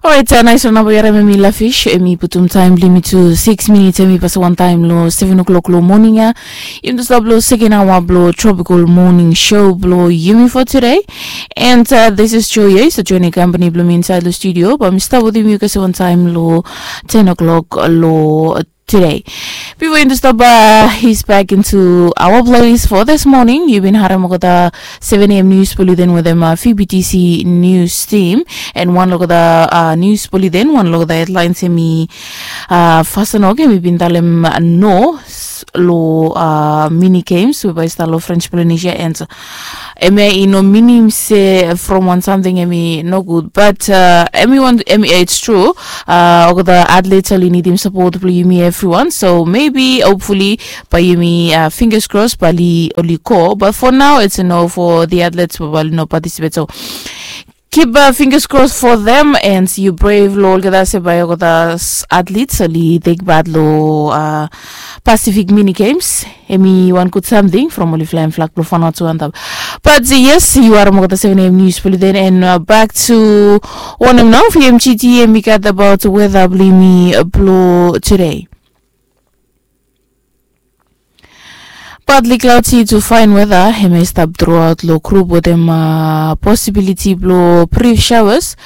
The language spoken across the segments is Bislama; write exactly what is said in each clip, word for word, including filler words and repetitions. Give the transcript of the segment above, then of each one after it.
Orait, nais wan namba yu harim em i Lafish, em i putum taem blong yumi tu siks minits, em i pasim wantaem long seven o'clock long moning ya. Yumi tu stap long seken aoa blong Tropical Morning Show blong yumi for today. And this is Joy ya, yu stap joenem kampani blong mi insaed long studio, bae mi stap wetem yu kasem wantaem long ten o'clock long today. Bifo yumi tu stap, he's back into our place for this morning. Yu bin harim olgeta seven a.m. nius blong yumi den wetem VBTC nius tim, and wan long olgeta nius blong yumi den, wan long olgeta hedlaens em i fasin, oke, em i bin talem no long mini games we bae i stap long French Polynesia, and em ya i no minim se from wan samting em i nogud, bat em i wan, em i, it's true. Olgeta atlets oli nidim sapot blong yumi evriwan, so maybe, hopefully, bae yumi, fingers crossed, bae oli go, but for now it's a no for the athletes we bae oli no participate, so keep fingers crossed for them, and yu prea long olgeta se bae olgeta athletes oli tek pat long Pacific Mini Games. Em i wan gud samting from oli flaem flag blong Vanuatu antap. Bat yes, yu harim olgeta seven a.m. nius blong yumi den, and back to wanem nao VMGT em i gat abaot weta blong yumi blong tude. Partly cloudy to fine weather em i stap throughout long group wetem possibility blong brief showers.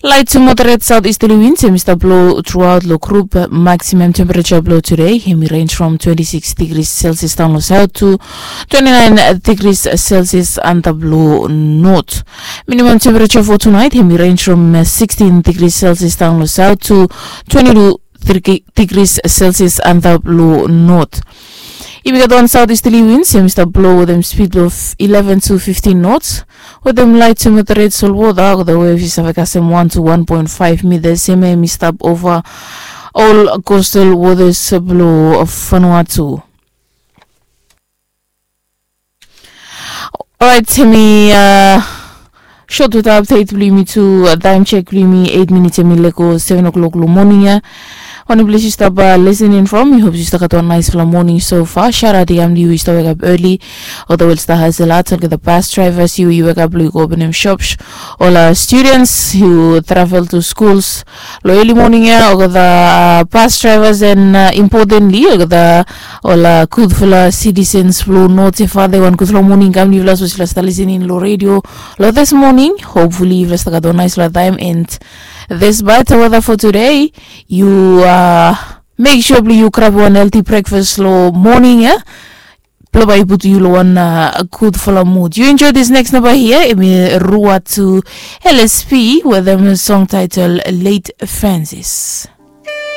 Light to moderate southeasterly winds em i stap blow throughout long group. Maximum temperature blong today em i range from twenty-six degrees Celsius daon long south to twenty-nine degrees Celsius antap long north. Minimum temperature for tonight em i range from sixteen degrees Celsius daon long south to twenty-two degrees Celsius antap long north. Yumi gat wan southeasterly winds em i stap blow wetem speed blong eleven to fifteen knots, wetem light to moderate sol wota, olgeta wave i save kasem one to one point five meters. Em ya em i stap ova ol coastal waters blong Vanuatu. Orait, em i sot weta update blong yumi tu. Taem check blong yumi, eit minits em i lego seven o'clock long moning ya. Wanem ples yu stap listening from, mi hop yu stap gat wan naesfala moning so far. Shout out i kam long yu, yu stap wekap early. Olgeta we oli stap hasel at, olgeta bus drivers, yu yu wekap blong yu go openem shops. Ol students yu travel to schools long early moning ya, olgeta bus drivers, and importantly olgeta ol gudfala citizens blong North Efate, wan gudfala moning kam long yufala. Sapos yufala stap listening long radio long this morning, hopefully yufala stap gat wan naesfala taem, and this bad weather for today, yu mek sua blong yu grab wan healthy breakfast long moning ya, blong bae i putum yu long wan gudfala mood. Yu enjoy this next namba hia, em i Ruatu LSP wetem song title Late Francis.